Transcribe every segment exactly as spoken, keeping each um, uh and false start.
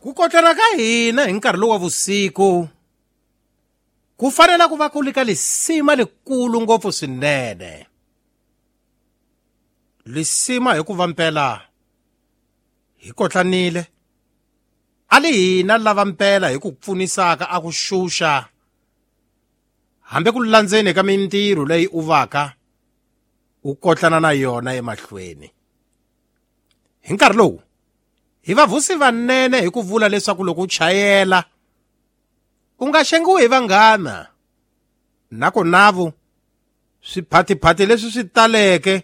Ku kotlana ka hina hi nkarhi lowu wa vusiku ku fanele ku va ku li ka lisima likulu ngopfu swinene. Lisima hikuva mpela hi kotlanile a li hina lava mpela hi ku pfunisaka a ku xuxa hambi ku landzeni ka mintirho leyi u vaka u kotlana na yona emahlweni. Hi nkarhi lowu hi va vusi vanene hi ku vula leswaku loko u chayela u nga xengiwi hi vanghana na ku navu swiphatiphati leswi swi taleke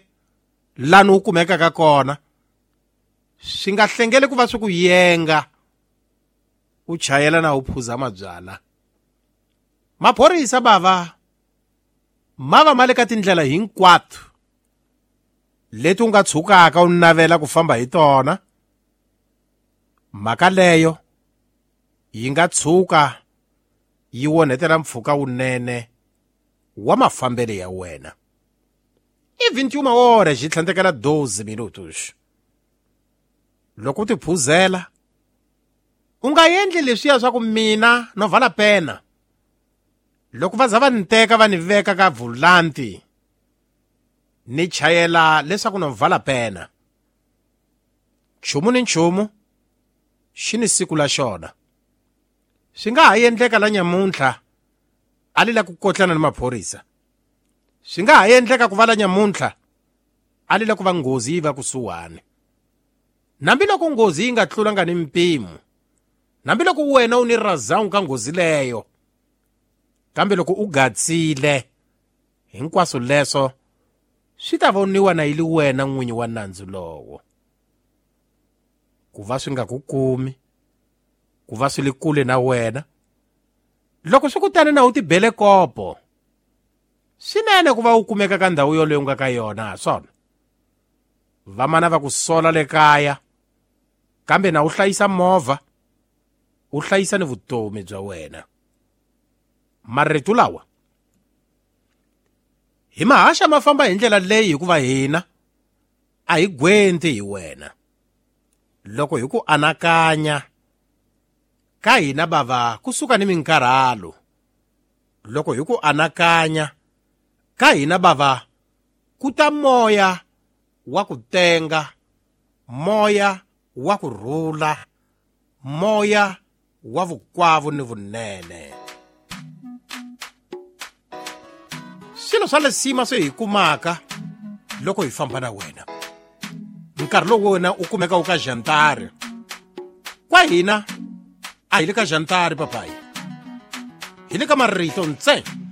lani u kumekaka kona swi nga hlengeli ku va swi ku yenga u chayela na u phuza mabyala. Maphorisa bava ma va ma le ka tindlela hinkwato leti u nga tshukaka u navela ku famba hi tona. Mhaka leyo yi nga tshuka yi onhetela mpfhuka wunene wa mafambelo ya wena. I vinte e uma horas xi tlhandlekela doze minutos. Loko u tiphuzela u nga endli leswiya swa ku mina no vala pena. Loko va za va ni teka va ni veka ka vulanti ni chayela leswaku no vala pena. Nchumu ni nchumu xi ni siku la xona. Swi nga ha endleka la nyamuntlha a li la ku kotlana ni maphorisa. Swi nga ha endleka ku va la nyamuntlha a li la ku va nghozi yi va kusuhani. Hambiloko nghozi yi nga tlulanga ni mpimo, hambiloko wena u ni razangu ka nghozi leyo, kambe loko u gatsile hinkwaswo leswo swi ta voniwa na yi li wena n'winyi wa nandzu lowo. Ku va swi nga ku kumi, ku va swi li kule na wena, loko swi ku tani na u tibele kopo, swinene ku va u kumeka ka ndhawu yoleyo u nga ka yona ha swona. Vamana va ku sola le kaya, kambe na u hlayisa movha, u hlayisa ni vutomi bya wena. Marito lawa hi mahaxa ma famba hi ndlela leyi hikuva hina a hi gwenti hi wena. Loko hi ku anakanya ka hina bava kusuka ni minkarhalo. Loko hi ku anakanya ka hina bava ku ta moya wa ku tenga, moya wa ku rhula, moya wa vukwavu ni vunene. Swilo swa lesima swi hi kumaka loko hi famba na wena. Nkarhi lowu wena u kumeka u ka jantari. Kwa hina a hi le ka jantari papayi, hi le ka marito ntsena.